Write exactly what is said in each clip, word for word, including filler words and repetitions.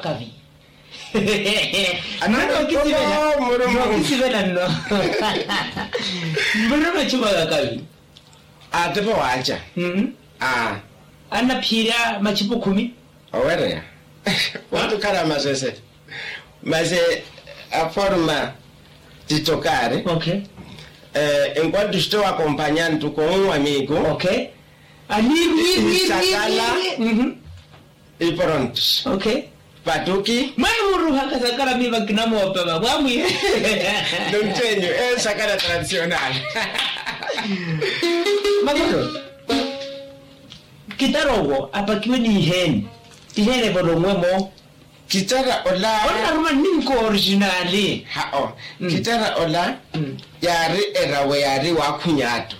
Kavi. Anano okisivela. Okisivela nno. Mbiriro machupa kakavi. Atepo waaca. Anaphiira machupa khumi. Owereya. Wantukhala masese. Masi aforma titokari. Enquanto estou acompanhando com um amigo. Sakala. Iporontos. Patuki. Mwamuruha kasakala miva kinamoopa vamwamwihe. Nontenyu esakala tradicional. Makolo. Kitara owo apakiwe ni iheeni? Iheeni evolonwe-mo. Kitara ola. Onaruma ninko originali. Hao. Kitara ola yaari erawe yaari waakhunya atto.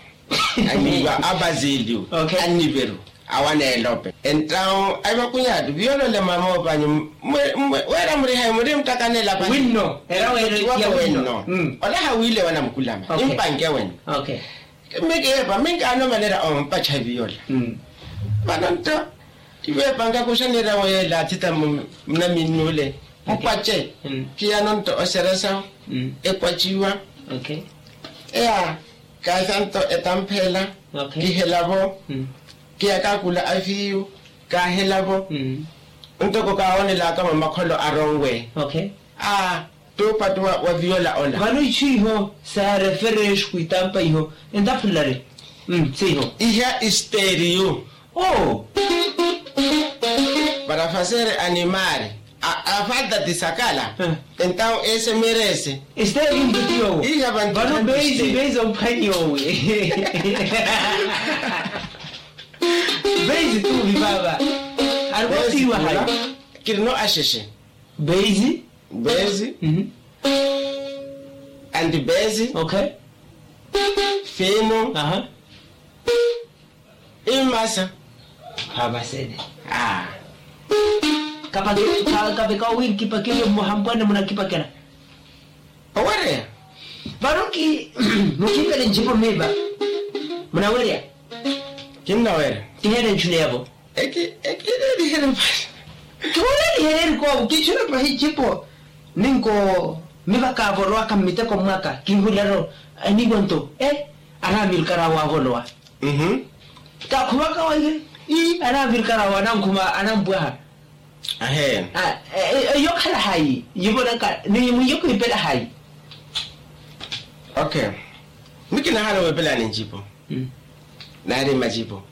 Aniva abasilio. Aniveru. Awaneelope entawu aivakhunya atto viyolole mama opanyu. Weera murihayi muri mutakanela pani winno erawe eno. Ola hawiile wanamukulama nimpanke wenno. Miki yeepa minkaano manera ompacha viyola. Vano nto iveepanka kuxa nira weela atita munaminnuule mukwace. Kiyano nto oseresa ekwaciwa. Eya. Kaasa nto etamphela kihelavo. Kiyakakula afiyu kahelavo. Ntoko kaawonelaka mwa makholo aronwe. Aa. Tuupatu wa viyola ola vano ichu iho saarefere exuku itampa iho. Entaphulari. Siiho iha isteriyu. Oo. Para fazer animari. Afalta tisakala. Entawu esemerese. Esteriyu ntutiyowe. Vano beisi beisi omphwanyowe. Beisi tuvi vava. Ariwasiwa hayi? Kirino axexe. Beisi. Beisi. Anti beisi. Fino. Imasa. Khavasene. Kapake kaveka owiri kipakeriwe mmoha mpwanne munakipakela. Owereya. Vano ki mukimpele ncipo miva. Munawereya. Kinnawereya. Kiheele nchuneyavo. Eki eki ereerihere mpale. Kihuleerihere koovo kichuna pahi icipo. Ninko miva kaavolowaka mmiteko mwaka kinhulelo. Aniiwa nto e anamirikara awo avolowa. Kakhuvaka waihe. Ii anamirikara awo anankhuma anampwaha. Aheena. Eyo khala hayi yivolaka ni mwiyo kiipela hayi? Okay. Mikina hano wepelani ncipo. Nari macipo.